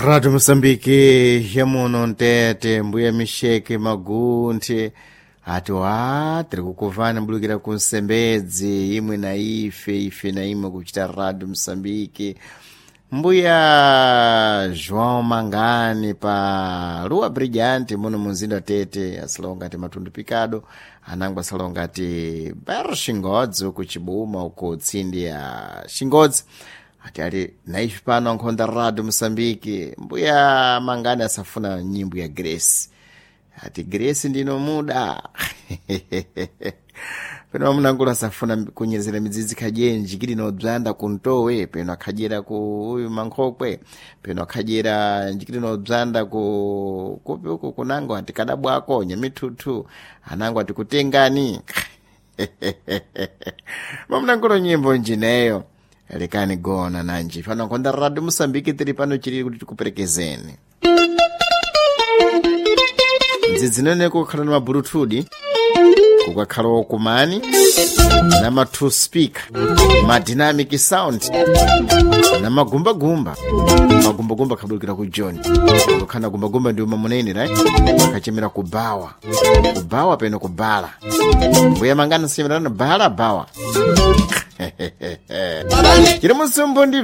Radio Mosambiki yamuno mtete mbuya misheke magunthe ati wa tiri kukuvana mbulukira ku nsembedzi imwe na ife ife na imwe kuchita Radio Mosambiki. Mbuya João Mangani pa Rua Brilhante muno munzinda wa Tete asilonga ati matundu pikado anango asilonga ati bairro Xingodzi uku Chibuma uku tsindi ya Xingodzi ati ali naife pano nkhonda Radio Mosambiki. Mbuya Mangani asafuna nyimbo ya Grace, ati Grace ndino muda peno amunangula asafuna kunyezera midzidzi khajenji kili nobzanda kuntowe peno akhadyera ku uyu mankhokwe peno akhadyera njikili nobzanda ku kupi uku kunango ati kadabwako nyamithuthu anango ati kutengani. Mamunangulo nyimbo njineyo lekani gona nanji pano nkhonda Radio Mosambiki tili pano chilili kuti tikuperekezeni ndzidzi kukhala na mabulututi kukakhala wokumani na ma two speaker ma dynamic sound na magumbagumba. Magumbagumba akhabulukira ku John kukhala gumbagumba ndi umamunene right akachemera kubawa kubawa peno kubala mbuya mangana sichemerana bala bawa chiri musumbu ndi